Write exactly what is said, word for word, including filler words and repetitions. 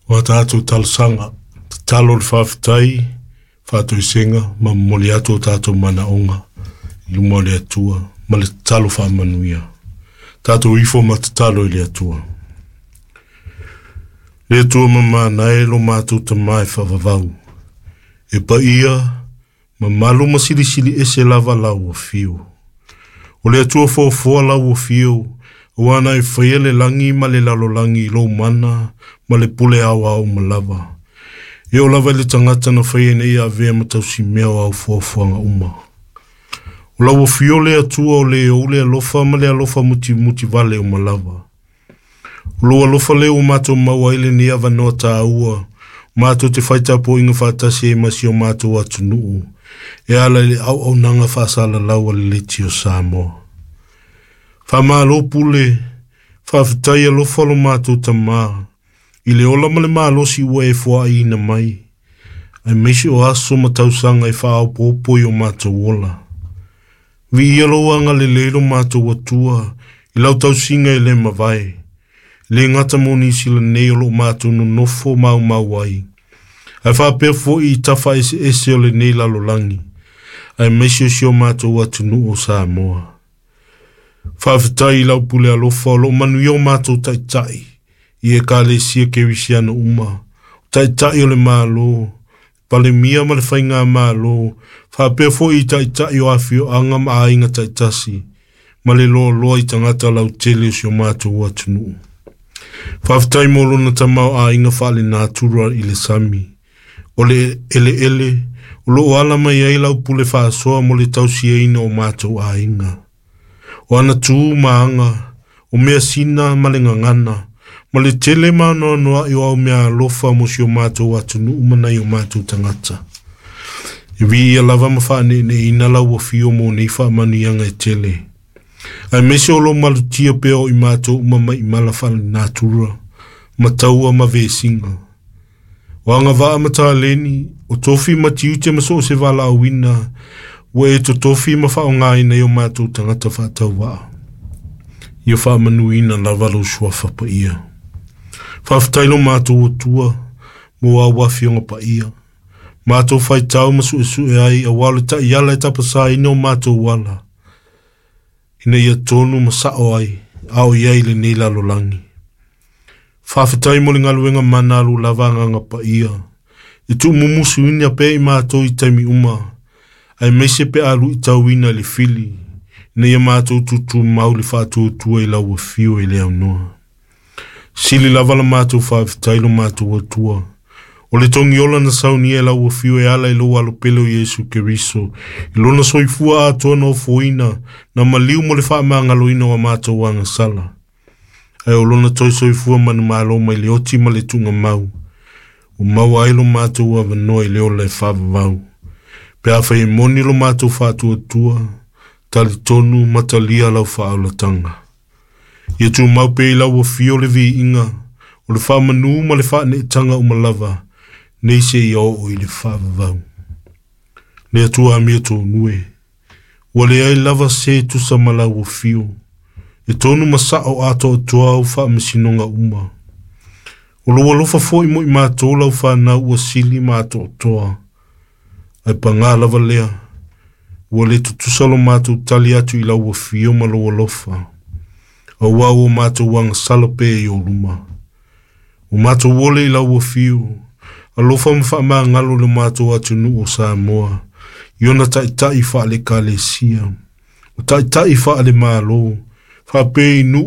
O a tatou talosaga, tatalo le faafetai, faatoesega ma momoli atu o tatou manaoga i luma o le Atua ma le tatalo faamanuia. Tatou ifo ma tatalo i le Atua. Le Atua mamana e lo matou Tama e faavavau, e paia, mamalu ma silisili ese lava lau afio. O le Atua foafoa lau afio, aua na e faia le lagi ma le lalolagi i lou mana ma le pule aoao uma lava. E oo lava i le tagata na faia ina ia avea ma tausimea o au foafoaga uma. O lau afio le Atua o le ou le alofa ma le alofa mutimutivale uma lava. O lou alofa lea ua matou maua ai lenei avanoa taua, matou te fai tapuaiga faatasi ai ma si o matou atunuu, e ala i le auaunaga faasalalau a le Leitio Samoa. Faamalo pule, faafetai alofa lo matou Tama, i le ola ma le malosi ua e foaiina mai, aemaise o aso ma tausaga e faaopoopo i o matou ola. Viia lou agalelei lo matou Atua, i lau tausiga e le mavae, le gata mo nisi nei o lo matou nonofo maumau ai, ae faapea foi i tafa eseese o lenei lalolagi, aemaise o si o matou atunuu o Samoa. Faafetai i lau pule alofa o loo manuia o matou taitai i ekalesia kerisiano uma, o taitai o le Malo, Palemia ma le Faigamalo, faapea foi i taitai o afioaga ma aiga taitasi, ma le loaloa i tagata lautele o si o matou atunuu. Faafetai mo lona tamaoaiga faalenatura i le sami, o le eleele, o loo ala mai ai lau pule faasoa mo le tausiaina o matou aiga. O ana tu ma aga, o measina ma le gagana, ma le tele ma anoanoai o au mea alofa mo si o matou atunuu ma nai o matou tagata. E viia lava ma faaneeneeina lau afio mo nei faamanuiaga e tele. Aemaise o lou malutia pea o i matou uma mai i mala faalenatura, ma taua ma vesiga. O agavaa ma taleni, o tofi ma tiute ma so o se valaauina, ua e totofi ma faaaogaina i o matou tagata faatauvaa. Ia faamanuina lava lou suafa paia. Faafetai lo matou Atua mo au afioga paia. Matou faitau ma suesue ai aua o le taiala e tapasaina o matou ala, ina ia tonu ma sao ai, a o i ai lenei lalolagi. Faafetai mo le galuega mana alu lava agaga paia, e tuumumusuina pea i matou i taimi uma, aemaise pe a luitauina i le fili, ina ia matou tutumau le faatuatua i lau afio e le aunoa. Sili lava la matou faafetai lo matou Atua, o le togiola na saunia e lau afio e ala i lou alopele o Iesu Keriso, i lona soifua atoa na ofoina, na maliu mo le faamagaloina o a matou agasala. Ae o lona toe soifua manumalo mai le oti ma le tuugamau, ua maua ai lo matou avanoa i le ola e faavavau. Pe afai e moni lo matou faatuatua, talitonu ma talia lau faaolataga. Ia tumau pea i lau afio le viiga, o le faamanu ma le faaneetaga uma lava, nei seia oo i le faavavau. Le Atua amia tonu e, ua leai lava se tusa ma lau afio, e tonu ma sao atoatoa au faamasinoga uma. O lou alofa foi mo i matou lau fanau ua sili ma atoatoa. Ae paga lava lea, ua le tutusa lo matou tali atu i lau afio ma lou alofa, aua ua matou agasala pea i ou luma. Ua matou ole i lau afio, alofa ma faamagalo le matou atunuu o Samoa, i ona taitai faale-ekalesia, o taitai faale-Malo, faapea i nuu